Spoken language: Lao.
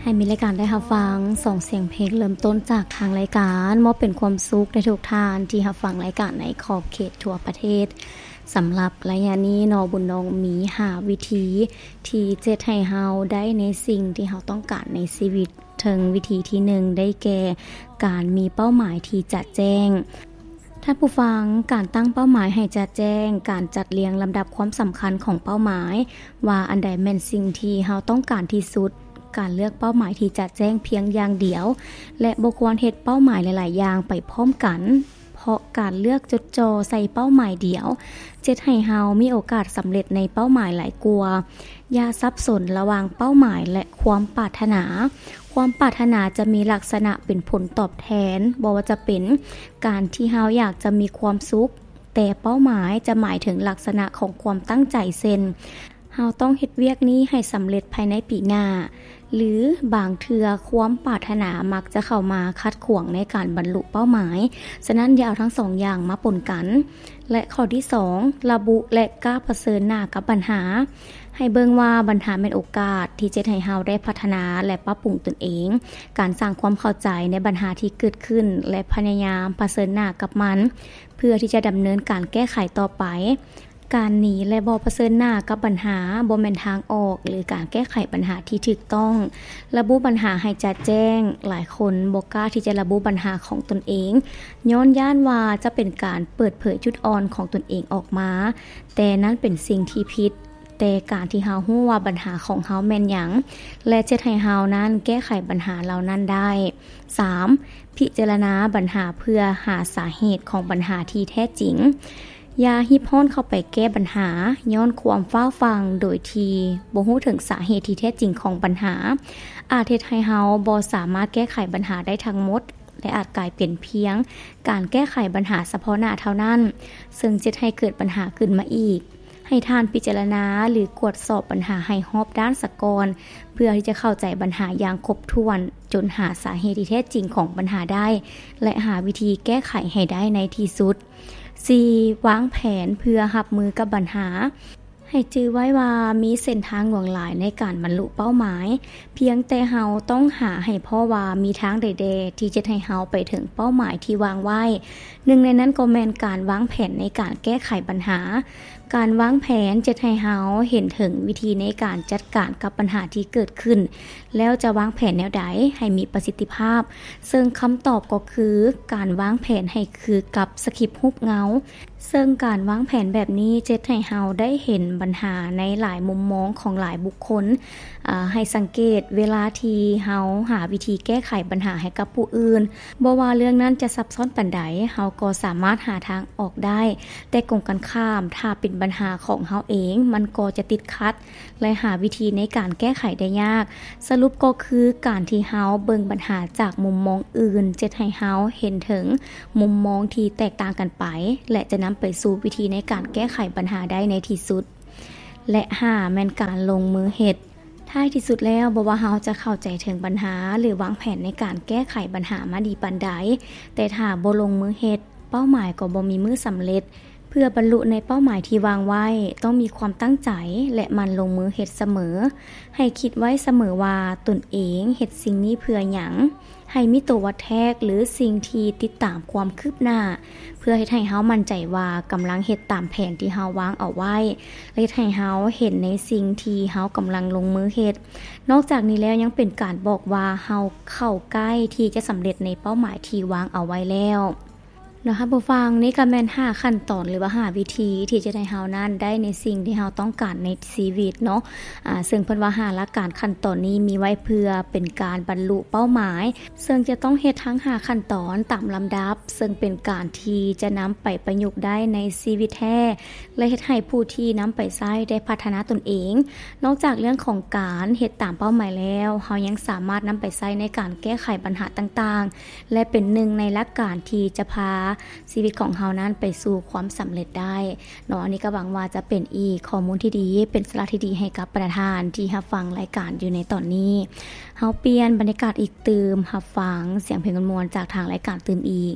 ໃຫ້ມີລາຍການໄດ້ຮັບຟັງສອງສຽງເພງເລີ່ມຕົ້ນຈາກທາງລາຍການ ມອບເປັນຄວາມສຸກໃຫ້ທຸກທ່ານທີ່ຮັບຟັງລາຍການໃນຂອບເຂດທົ່ວປະເທດ. ສຳລັບໄລຍະນີ້ເນາະ ບຸນນອງມີຫ້າວິທີທີ່ຈະເຮັດໃຫ້ເຮົາໄດ້ໃນສິ່ງທີ່ເຮົາຕ້ອງການໃນຊີວິດ. ເຖິງວິທີທີໜຶ່ງ ໄດ້ແກ່ການມີເປົ້າໝາຍທີ່ຈະແຈ້ງ. ທ່ານຜູ້ຟັງ, ການຕັ້ງເປົ້າໝາຍໃຫ້ຈະແຈ້ງ, ການຈັດລຽງລຳດັບຄວາມສຳຄັນຂອງເປົ້າໝາຍ ວ່າອັນໃດແມ່ນສິ່ງທີ່ເຮົາຕ້ອງການທີ່ສຸດ, ການເລືອກເປົ້າໝາຍທີ່ຈະແຈ້ງພຽງຢ່າງດຽວ ແລະ ບໍ່ຄວນເຮັດເປົ້າໝາຍຫຼາຍໆຢ່າງໄປພ້ອມກັນ, ເພາະການເລືອກຈົດຈ່ອໃສ່ເປົ້າໝາຍດຽວ ຈະເຮັດໃຫ້ເຮົາມີໂອກາດສຳເລັດໃນເປົ້າໝາຍຫຼາຍກວ່າ. ຢ່າສັບສົນລະຫວ່າງເປົ້າໝາຍ ແລະ ຄວາມປາດຖະໜາ. ຄວາມປາດຖະໜາຈະມີລັກສະນະເປັນຜົນຕອບແທນ, ບໍ່ວ່າຈະເປັນການທີ່ເຮົາຢາກຈະມີຄວາມສຸກ, ແຕ່ເປົ້າໝາຍຈະໝາຍເຖິງລັກສະນະຂອງຄວາມຕັ້ງໃຈ ເຊັ່ນ ເຮົາຕ້ອງເຮັດວຽກນີ້ໃຫ້ສຳເລັດພາຍໃນປີໜ້າ, ຫຼື ບາງເທື່ອຄວາມປາດຖະໜາມັກຈະເຂົ້າມາຂັດຂວາງໃນການບັນລຸເປົ້າໝາຍ. ສະນັ້ນ ຢ່າເອົາທັງສອງຢ່າງມາປົນກັນ. ແລະ ຂໍ້ທີສອງ ລະບຸ ແລະ ກ້າປະເຊີນໜ້າກັບບັນຫາ. ໃຫ້ເບິ່ງວ່າບັນຫາແມ່ນໂອກາດທີ່ຈະເຮັດໃຫ້ເຮົາໄດ້ພັດທະນາ ແລະ ປັບປຸງຕົນເອງ. ການສ້າງຄວາມເຂົ້າໃຈໃນບັນຫາທີ່ເກີດຂຶ້ນ ແລະ ພະຍາຍາມປະເຊີນໜ້າກັບມັນ ເພື່ອທີ່ຈະດຳເນີນການແກ້ໄຂຕໍ່ໄປ. ການໜີ ແລະ ບໍ່ປະເຊີນໜ້າກັບບັນຫາ ບໍ່ແມ່ນທາງອອກ ຫຼື ການແກ້ໄຂບັນຫາທີ່ຖືກຕ້ອງ. ລະບຸບັນຫາໃຫ້ຈະແຈ້ງ. ຫຼາຍຄົນບໍ່ກ້າທີ່ຈະລະບຸບັນຫາຂອງຕົນເອງ ຍ້ອນຢ້ານວ່າຈະເປັນການເປີດເຜີຍຈຸດອ່ອນຂອງຕົນເອງອອກມາ, ແຕ່ນັ້ນເປັນສິ່ງທີ່ຜິດ. ແຕ່ການທີ່ເຮົາຮູ້ວ່າບັນຫາຂອງເຮົາແມ່ນຫຍັງ ແລະ ຈະເຮັດໃຫ້ເຮົານັ້ນແກ້ໄຂບັນຫາເຫຼົ່ານັ້ນໄດ້. ສາມ ພິຈາລະນາບັນຫາເພື່ອຫາສາເຫດຂອງບັນຫາທີ່ແທ້ຈິງ. ຢ່າຮີບຮ້ອນເຂົ້າໄປແກ້ບັນຫາຍ້ອນຄວາມຟ້າວຟັ່ງ ໂດຍທີ່ບໍ່ຮູ້ເຖິງສາເຫດທີ່ແທ້ຈິງຂອງບັນຫາ ອາດເຮັດໃຫ້ເຮົາບໍ່ສາມາດແກ້ໄຂບັນຫາໄດ້ທັງໝົດ ແລະ ອາດກາຍເປັນພຽງການແກ້ໄຂບັນຫາສະເພາະໜ້າເທົ່ານັ້ນ, ເຊິ່ງຈະເຮັດໃຫ້ເກີດບັນຫາຂຶ້ນມາອີກ. ໃຫ້ທ່ານພິຈາລະນາ ຫຼື ກວດສອບບັນຫາໃຫ້ຮອບດ້ານສາກ່ອນ ເພື່ອທີ່ຈະເຂົ້າໃຈບັນຫາຢ່າງຄົບຖ້ວນ ຈົນຫາສາເຫດທີ່ແທ້ຈິງຂອງບັນຫາໄດ້ ແລະ ຫາວິທີແກ້ໄຂໃຫ້ໄດ້ໃນທີ່ສຸດ. ສີ່ ວາງແຜນເພື່ອຮັບມືກັບບັນຫາ. ໃຫ້ຈື່ໄວ້ວ່າມີເສັ້ນທາງຫຼວງຫຼາຍໃນການບັນລຸເປົ້າໝາຍ, ພຽງແຕ່ເຮົາຕ້ອງຫາໃຫ້ພໍ້ວ່າມີທາງໃດແດ່ທີ່ຈະເຮັດໃຫ້ເຮົາໄປເຖິງເປົ້າໝາຍທີ່ວາງໄວ້. ໜຶ່ງໃນນັ້ນກໍແມ່ນການວາງແຜນໃນການແກ້ໄຂບັນຫາ. ການວາງແຜນຈະເຮັດໃຫ້ເຮົາເຫັນເຖິງວິທີໃນການຈັດການກັບບັນຫາທີ່ເກີດຂຶ້ນ, ແລ້ວຈະວາງແຜນແນວໃດໃຫ້ມີປະສິດທິພາບ, ເຊິ່ງຄຳຕອບກໍຄືການວາງແຜນໃຫ້ຄືກັບສະຄຣິບຮູບເງົາ. ເຊິ່ງການວາງແຜນແບບນີ້ຈະເຮັດໃຫ້ເຮົາໄດ້ເຫັນບັນຫາໃນຫຼາຍມຸມມອງຂອງຫຼາຍບຸກຄົນ. ອາ, ໃຫ້ສັງເກດເວລາທີ່ເຮົາຫາວິທີແກ້ໄຂບັນຫາໃຫ້ກັບຜູ້ອື່ນ, ບໍ່ວ່າເລື່ອງນັ້ນຈະຊັບຊ້ອນປານໃດ, ເຮົາກໍສາມາດຫາທາງອອກໄດ້. ແຕ່ກົງກັນຂ້າມ, ຖ້າເປັນບັນຫາຂອງເຮົາເອງ, ມັນກໍຈະຕິດຂັດ ແລະ ຫາວິທີໃນການແກ້ໄຂໄດ້ຍາກ. ສະຫຼຸບກໍຄືການທີ່ເຮົາເບິ່ງບັນຫາຈາກມຸມມອງອື່ນ ຈະເຮັດໃຫ້ເຮົາເຫັນເຖິງມຸມມອງທີ່ແຕກຕ່າງກັນໄປ ແລະ ຈະນຳໄປສູ່ວິທີໃນການແກ້ໄຂບັນຫາໄດ້ໃນທີ່ສຸດ. ແລະ ຫ້າ ແມ່ນການລົງມືເຮັດ. ທ້າຍທີ່ສຸດແລ້ວ, ບໍ່ວ່າເຮົາຈະເຂົ້າໃຈເຖິງບັນຫາ ຫຼື ວາງແຜນໃນການແກ້ໄຂບັນຫາມາດີປານໃດ, ແຕ່ຖ້າບໍ່ລົງມືເຮັດ, ເປົ້າໝາຍກໍບໍ່ມີມື້ສຳເລັດ. ເພື່ອບັນລຸໃນເປົ້າໝາຍທີ່ວາງໄວ້, ຕ້ອງມີຄວາມຕັ້ງໃຈ ແລະ ໝັ່ນລົງມືເຮັດສະເໝີ. ໃຫ້ຄິດໄວ້ສະເໝີວ່າຕົນເອງເຮັດສິ່ງນີ້ເພື່ອຫຍັງ. ໃຫ້ມີໂຕວັດແທກ ຫຼື ສິ່ງທີ່ຕິດຕາມຄວາມຄືບໜ້າ, ເພື່ອເຮັດໃຫ້ເຮົາໝັ້ນໃຈວ່າກຳລັງເຮັດຕາມແຜນທີ່ເຮົາວາງເອົາໄວ້ ແລະ ເຮັດໃຫ້ເຮົາເຫັນໃນສິ່ງທີ່ເຮົາກຳລັງລົງມືເຮັດ. ນອກຈາກນີ້ແລ້ວ ຍັງເປັນການບອກວ່າເຮົາເຂົ້າໃກ້ທີ່ຈະສຳເລັດໃນເປົ້າໝາຍທີ່ວາງເອົາໄວ້ແລ້ວ. ເນາະ ທ່ານຜູ້ຟັງ, ນີ້ກໍແມ່ນຫ້າຂັ້ນຕອນ ຫຼືວ່າຫ້າວິທີທີ່ຈະເຮັດໃຫ້ເຮົານັ້ນໄດ້ໃນສິ່ງທີ່ເຮົາຕ້ອງການໃນຊີວິດເນາະ. ອາ, ເຊິ່ງເພິ່ນວ່າຫ້າຫຼັກການຂັ້ນຕອນນີ້ມີໄວ້ເພື່ອເປັນການບັນລຸເປົ້າໝາຍ, ເຊິ່ງຈະຕ້ອງເຮັດທັງຫ້າຂັ້ນຕອນຕາມລຳດັບ, ເຊິ່ງເປັນການທີ່ຈະນຳໄປປະຍຸກໄດ້ໃນຊີວິດແທ້ ແລະ ເຮັດໃຫ້ຜູ້ທີ່ນຳໄປໃຊ້ໄດ້ພັດທະນາຕົນເອງ. ນອກຈາກເລື່ອງຂອງການເຮັດຕາມເປົ້າໝາຍແລ້ວ, ເຮົາຍັງສາມາດນຳໄປໃຊ້ໃນການແກ້ໄຂບັນຫາຕ່າງໆ ແລະ ເປັນໜຶ່ງໃນຫຼັກການທີ່ຈະພາຊີວິດຂອງເຮົານັ້ນໄປສູ່ຄວາມສຳເລັດໄດ້ເນາະ. ອັນນີ້ກໍຫວັງວ່າຈະເປັນອີກຂໍ້ມູນທີ່ດີ, ເປັນສາລະທີ່ດີໃຫ້ກັບບັນດາທ່ານທີ່ຮັບຟັງລາຍການຢູ່ໃນຕອນນີ້. ເຮົາປ່ຽນບັນຍາກາດອີກຕື່ມ, ຮັບຟັງສຽງເພງມ່ວນໆຈາກທາງລາຍການຕື່ມອີກ.